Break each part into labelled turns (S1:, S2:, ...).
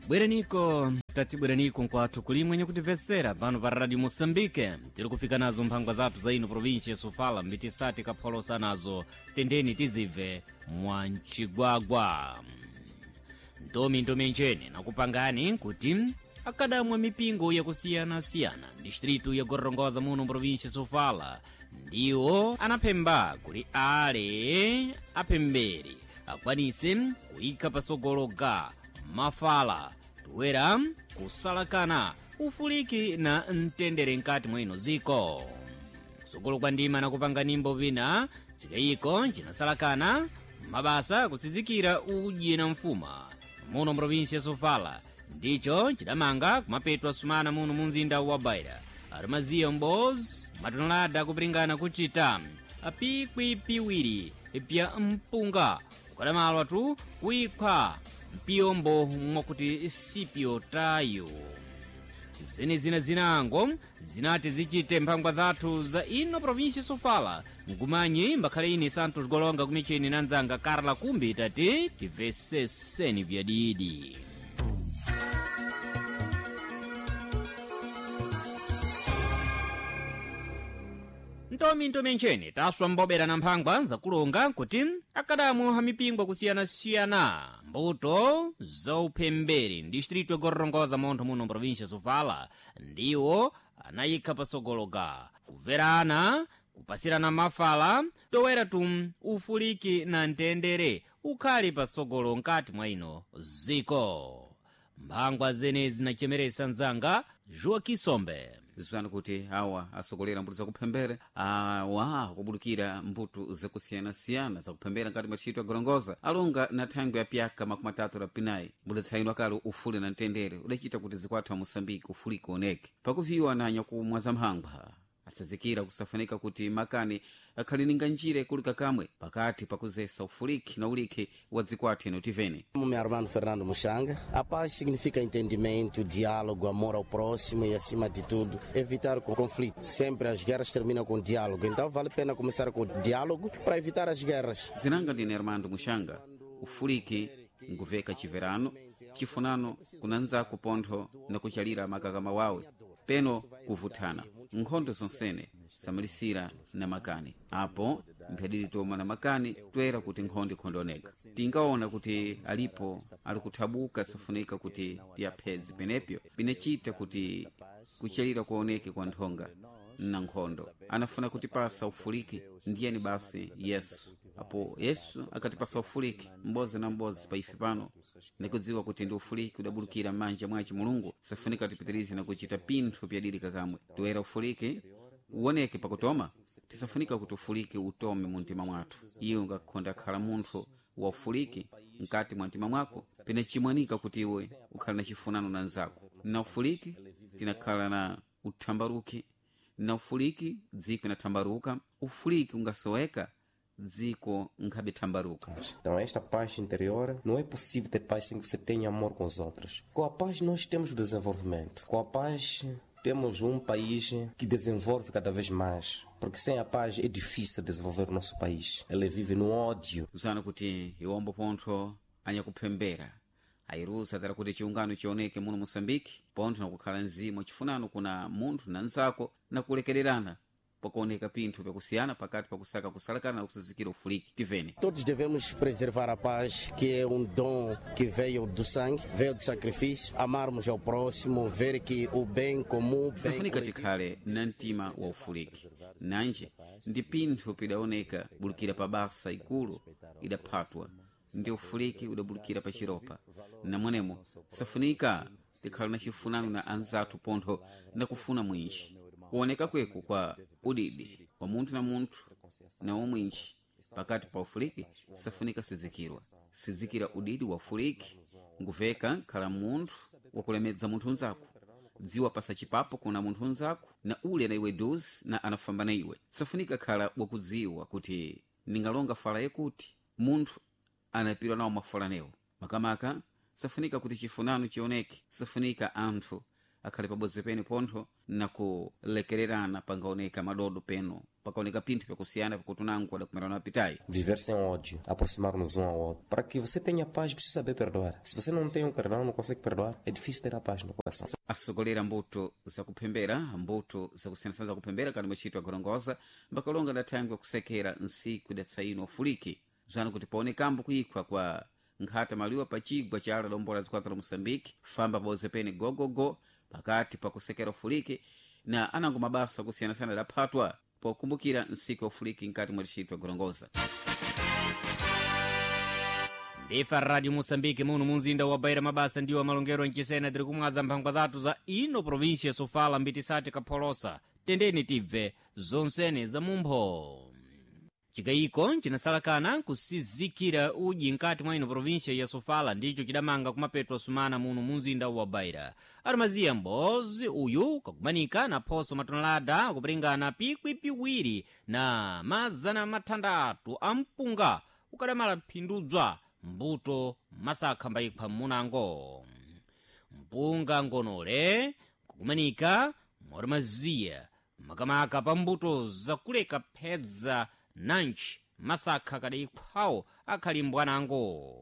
S1: Bwereniko tatibwereniko nkwathu kulimwe nyakutimvetsera pano pa Radio Moçambique. Tiri kufika nazo mphangwa zathu za ino província ya Sofala, mbitisati kapholosa nazo tendeni tizibve mwa mcigwagwa. Ntomi ntomi nchene nakupangani kuti akadamwa mipingo yakusiyanasiyana distritu ya Gorongosa muno província ya Sofala ndiwo anaphemba kuli ale aphemberi akwanise kuyika pasogolo ga mafala toera kusalakana ufuliki na mtendere nkati mwino ziko kusogolo kwa ndima nakupanga nimbo vina cikayiko cinasalakana mabasa kusizikira udyi na mfuma muno mprovinsi ya Sofala ndicho cidamanga kumapetwa sumana muno mu mzinda wa Beira. Arumaziya mbozi matonelada kupiringana kucita apikwi piwiri pya mpunga kukadamalwa tu kuikhwa mpiyombo mwakuti sipyo tayo. Zene zina zinango zinati zichite mphangwa zathu za ino provinsi Sofala. Mgumanyi mbakhale ine Santos Golonga kumicheni na nzanga Carla Kumbi tati timveseseni vyadidi. Ntomi ntomi ncheni taswa mbobera na mphangwa zakulonga kuti akadamu ha mipingo kusiyanasiyana mbuto zauphemberi distritu ya Gorongosa montho muno província Sofala ndiwo anayikha pasogologa kuverana kupasirana mafala toera tu ufuliki na mtendere ukhali pasogolo nkati mwa ino ziko. Mphangwa zene zinachemeresa nzanga Joaquim Sombe.
S2: Zizani kuti awa asogolera mbuto zakuphembera awa akubulukira mbuto zakusiyanasiyana zakuphembera nkati mwa ntchito ya Gorongosa alonga na thangwi ya pyaka 30 la pinayi mbudatsainwa kale ufuli na mtendere udacita kuti zikwathu a Moçambique ufuliki oneke pakuviwa na nyakumwa za mphangwa asazikira kusafunika kuti makani akhalininga njira ikulika kamwe pakati pakuzesa ufuliki na ulikhi wa dzikwathu ino tivene.
S3: Meu nome é Armando Fernando Muxanga. A paz significa entendimento, diálogo, amor ao próximo e, acima de tudo, evitar o conflito. Sempre as guerras terminam com diálogo, então vale a pena começar com o diálogo para evitar as guerras.
S2: Zinanga ndine Armando Muxanga. Ufuliki nkuveka chiverano chifunano kunanzaku pontho na kuchalira makakama wawe peno kuvuthana nkhondo zonsene samalisira na makani apo mphadiri toma na makani toera kuti nkhondo ikhondooneka. Tingaona kuti alipo ali kuthabuka safunika kuti tiyaphedze penepyo pinacita kuti kuchalira kuoneke kwa nthonga na nkhondo. Anafuna kutipasa ufuliki ndiyeni basi Yesu. Apo Yesu akatipasa ufuliki m'bozi na m'bozi pa ife pano nikudziwa kuti ndi ufuliki udabulukira m'manja mwaci Mulungu safunika tipitirize na kuchita pinthu pyadilika kamwe. Toera ufuliki uwoneke pakutoma tisafunika kuti ufuliki utome mu mtima mwathu. Iwe ungakhonda khala munthu wa ufuliki mkati mwa mtima mwako pinachimwanika kuti iwe ukhala na chifunano na nzako. Na ufuliki tinakhala na uthambaruki, na ufuliki dziko inathambaruka. Ufuliki ungasoweka dziko nkhabe thambaruka.
S4: Então esta paz interior, não é possível ter paz sem que você tenha amor com os outros. Com a paz nós temos o desenvolvimento. Com a paz temos um país que desenvolve cada vez mais. Porque sem a paz é difícil desenvolver o nosso país. Ele vive no ódio.
S2: Uzana kuti iwombo pontho anyakuphembera ayirusa tara kuti chiungano chioneke muno Moçambique pontho nakukhala mzimu chifunano kuna munthu na nzako na kulekererana pakuoneka pinthu pyakusiyana pakati pakusaka kusalakana na kusizikira ufuliki. Tivene.
S3: Todos devemos preservar a paz, que é um dom que veio do sangue, veio do sacrifício. Amarmos ao próximo, ver que o bem comum, bem
S2: Safunika
S3: coletivo.
S2: tikhale na mtima wa ufuliki nanje ndi pinthu pidaoneka bulukira pa basa ikulu idaphatwa ndi ufuliki udabulukira pa chiropa. Namwenemo safunika tikhala na chifunano na anzathu pontho na kufuna mwinji kuoneka kweku kwa udidi kwa munthu na munthu na umwinji pakati pa ufuliki safunika sidzikirwa sidzikira udidi wa ufuliki nguveka khala munthu wakulemedza munthu unzako dziwa pasa chipapo kuna munthu unzako na ule na iwe duzi na anafamba na iwe. Safunika khala wakudziwa kuti ningalonga fala yakuti munthu anapirwa nawo mafala newo makamaka. Safunika kuti chifunano chioneke. Safunika anthu Akhale pabodzi pene pontho na kulekererana pangaoneka madodo peno pakaoneka pinthu pyakusiyana pakuti unango adakumerana apitayi.
S4: Viver sem ódio, aproximar-nos um ao outro. Para que você tenha paz, precisa saber perdoar. Se você não tem um perdão, não consegue perdoar, é difícil ter a paz no coração.
S2: Asogolera mbuto zakuphembera, mbuto zakusiyanasiyana zakuphembera kani mwachitwa gorongoza mbakalonga dathangwe kusekera nsiku idatsaino ufuliki zwana kuti paonekambo kuikhwa kwa nkhata maliwa pa chigwa cha ala lombola zikwata la Moçambique famba pabodzi pene gogogo pakati pakusekera ufuliki na anango mabasa akusiyanasiyana adaphatwa pokumbukira nsiku ya ufuliki nkati mwa licitwa gorongoza.
S1: Ndifa Radio Moçambique muno munzinda wa Beira, mabasa ndiwo amalongero mchisena tiri kumwaza mphangwa zathu za ino província Sofala mbitisati kapholosa tendeni tibve zonsene za mumpho. Chikayiko chinasalakana kusizikira udyi nkati mwa ino província ya Sofala ndicho chidamanga kumapetwa sumana muno munzinda wa Beira. Armaziya mbozi uyu kakumanika na phoso matonelada akupiringana pikwi piwiri na 600 a mpunga ukadamala phindudzwa mbuto masakha mbayikhwa mmunango. Mpunga ngonole kukumanika mwarmaziya makamaka pa mbuto zakuleka phedza nanji masakha kadayikhwawo akhali mbwanango.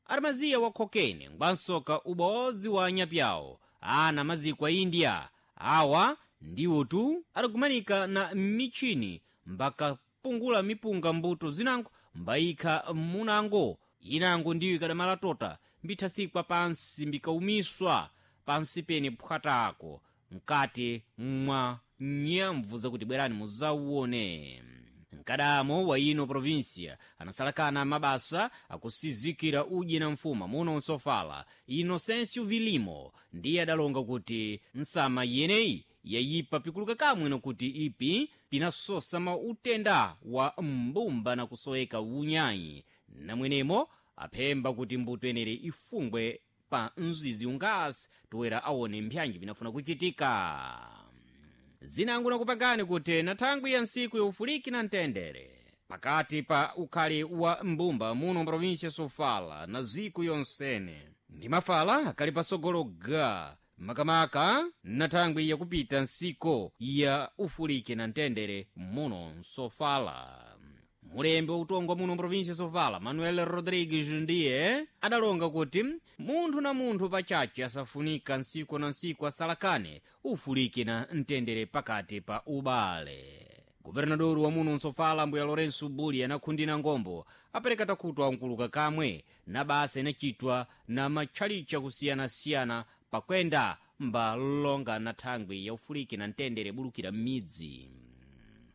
S1: Armaziya wakhokene ngwansoka ubodzi wa anyapyawo ana maziko a India awa ndiwotu adakumanika na michini mbakapungula mipunga mbuto zinango mbayikha munango inango ndiyo ikadamala tota mbithasikwa pansi mbikaumiswa pansi pene phwatako mkati mwa nyamvu zakuti bwerani muzauone. Mkadamo wa ino província anasalakana mabasa akusizikira udyi na mfuma muno nsofala Inocêncio Vilimo ndiye adalonga kuti nsama yeneyi yayipa pikuluka kamwe nokuti ipi pinasosa mautenda wa mbumba na kusoeka unyayi namwenemo aphemba kuti mbuto yenere ifungwe pa mzizi ungasi toera aone mpyanji pinafuna kuchitika. Zinango nakupangani kuti na thangwi ya ntsiku ya ufuliki na mtendere pakati pa ukhali wa mbumba muno província Sofala na ziko yonsene ndi mafala akali pasogolo ga makamaka na thangwi yakupita nsiko ya ufuliki na mtendere muno Sofala. Mulembi wa utongwa muno província Sofala Manuel Rodrigues ndiye adalonga kuti munthu na munthu pachache asafunika ntsiku na ntsiku asalakane ufuliki na mtendere pakati pa ubale. Guvernador wa muno Nsofala mbuya Lourenço Buli anakhundina ngombo apereka takhutu ankuluka kamwe na basa inachitwa na matchalichi kusiyanasiyana pakwenda mbalonga na thangwi ya ufuliki na mtendere bulukira m'midzi.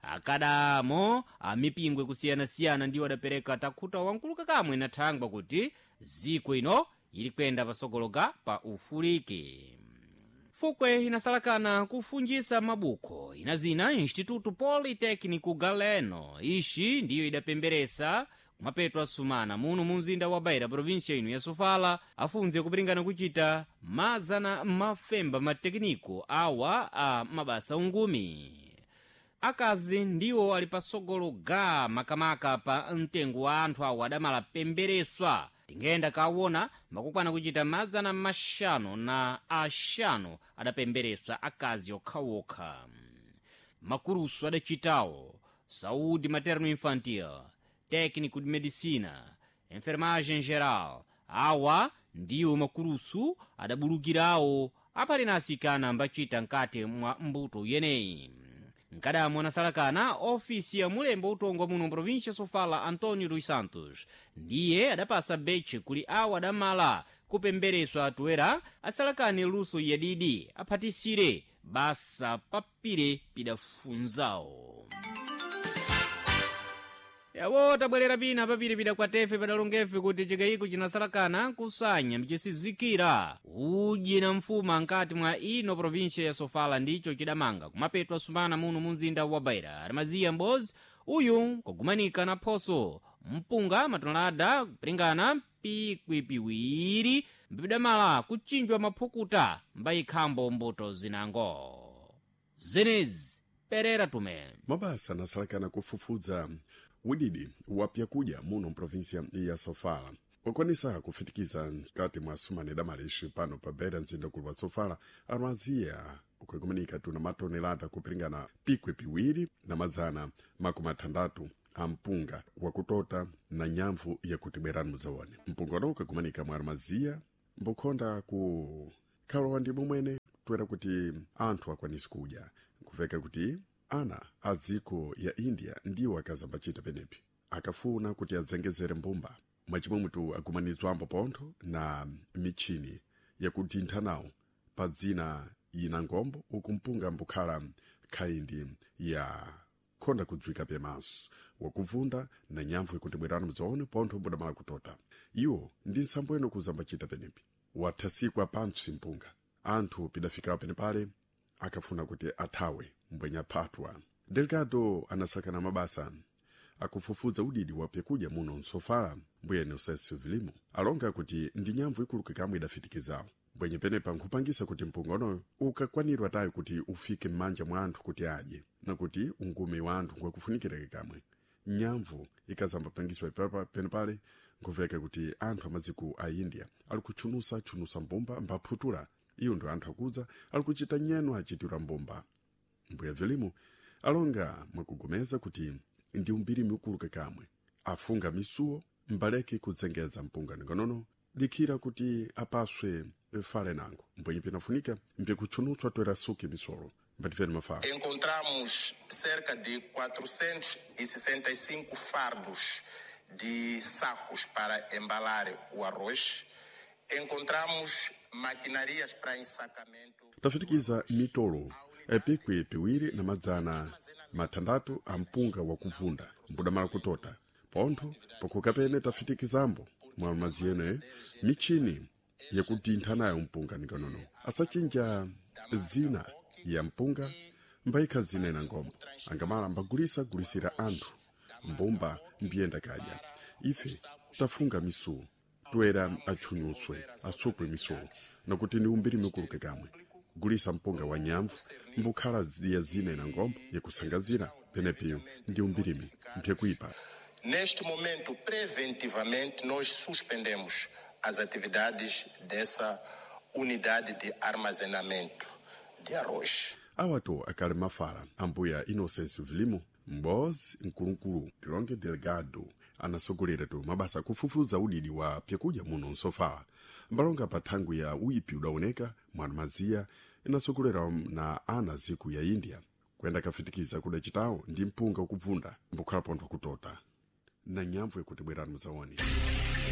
S1: Akadamo amipingwe kusiyanasiyana ndiwo adapereka takhuta wankuluka kamwe na thangwa kuti ziko ino ili kwenda pasogologa pa ufuliki. Fukwe inasalakana kufunjisa mabuko ina zina Instituto Politécnico Galeno ixi ndiyo idapemberesa kumapeto asumana muno munzinda wa Beira província ino ya Sofala afunze kupiringana kuchita mazana mafemba matekiniko awa a mabasa ungumi. Akazi ndiwo ali pasogolo ga makamaka pa mtengo wa anthu awo adamala pembereswa tingenda kawona makukwana kuchita 500 adapembereswa akazi okhaokha. Makurusu adachitawo saúde materno infantil, técnico de medicina, enfermagem geral awa ndiwo makurusu adabulukirawo apali na asikana ambachita nkati mwa mbuto yeneyi. Nkadamo anasalakana ofisi ya mulembo utongwa muno província Sofala Antonio dos Santos ndiye adapasa beche kuli awo adamala kupembereswa atoera asalakane luso yadidi aphatisire basa papire pidafunzawo. Yawo tabwerera pina papiri pidakwatefe padalongefe kuti chikayiko chinasalakana kusanya mchisizikira udyi na mfuma nkati mwa ino província ya Sofala ndicho chidamanga kumapetwa sumana muno munzinda wa Beira. Armaziya mbozi uyu kagumanika na phoso mpunga matonelada kupiringana pikwi piwiri mpidamala kuchinjwa maphukuta mbayikhambo mbuto zinango zenezi perera tume.
S5: Mabasa anasalakana kufufudza udidi wa pyakudya muno mprovinsia ya Sofala. Wakwanisa kufitikiza mkati mwa sumane damalishi pano pa beira mzinda ukulu wa Sofala armaziya ukukumanika tuna matonelada kupiringana pikwi piwiri na mazana 60 a mpunga wakutota na nyamvu yakuti bwerani muzaone. Mpunga uno ukakumanika mwa armaziya mbukhonda ku khalowa ndi momwene toera kuti anthu akwanise kudya nkuveka kuti ana a dziko ya India ndiwo akazambachita penepi akafuna kuti adzengezere mbumba mwachimwemwetu akumanizwambo pontho na michini yakutintha nawo pa dzina ina ngombo uku mpunga mbukhala khayindi ya khonda kudzwika pemaso wakuvunda na nyamvu ikuti bwerani mudzaone pontho mbudamala kutota. Iwo ndi nsambo ino kuzambachita penepi wathasikwa pantsi mpunga anthu pidafika penepale akafuna kuti athawe mbwenya phatwa. Delgado anasakana mabasa akufufuza udidi wa pyakudya muno msofala mbuye Nocésio Vilimo alonga kuti ndi nyamvu ikuluka kamwe idafitikizawo mbwenye penepa nkhupangisa kuti mpunga unoyo ukakwanirwa tayo kuti ufike m'manja mwa anthu kuti adye na kuti ungume wa anthu ngwakufunikireke kamwe. Nyamvu ikazambapangiswa penepale nkuveka kuti anthu amadziko a India ali kutchunusa-tchunusa mbumba mbaphutula iyo ndo anthu akudza ali kuchita nyeno achitira mbumba. Mbuya Vilimo alonga mwakugomeza kuti ndi umbiri miukuluka kamwe afunga misuwo mbaleke kudzengeza mpunga ningonono likhira kuti apaswe fale nango mbwenye pinafunika mpikutchunutswa toera suki misolo mbatifeni mafala.
S6: Encontramos cerca de 465 fardos de sacos para embalar o arroz. Encontramos maquinarias para ensacamento.
S5: Tafitikiza mitolo epikwi piwiri na 600 a mpunga wakuvunda mbudamala kutota pontho pakhuka pene tafitikizambo mwa madzi ene michini yakutintha nayo mpunga nikonono asachinja zina ya mpunga mbayikha zina ina ngombo angamala mbagulisa gulisira anthu mbumba mbiyenda kadya. Ife tafunga misuwo toera atchunyuswe asukwe misuwo nakuti ni umbiri mikuluke kamwe gulisa mpunga wa nyamvu mbukhala ya zina ina ngombo yakusangazira penepiyo ndi umbirimi mpyakuipa.
S6: Neste momento, preventivamente, nós suspendemos as atividades dessa unidade de armazenamento de arroz.
S5: Awato akali mafala ambuya Inocêncio Vilimo mbozi mkulukulu tilonge Delgado anasogolera tu mabasa akufufuza udidi wa pyakudya muno msofala mbalonga pa thangwi ya uipi udaoneka mwana maziya inasogolera na ana ziku ya India kuyenda kafitikiza kudacitawo ndi mpunga ukubvunda mbukhala pontho kutota na nyamvu ikuti bwerani mudzaone.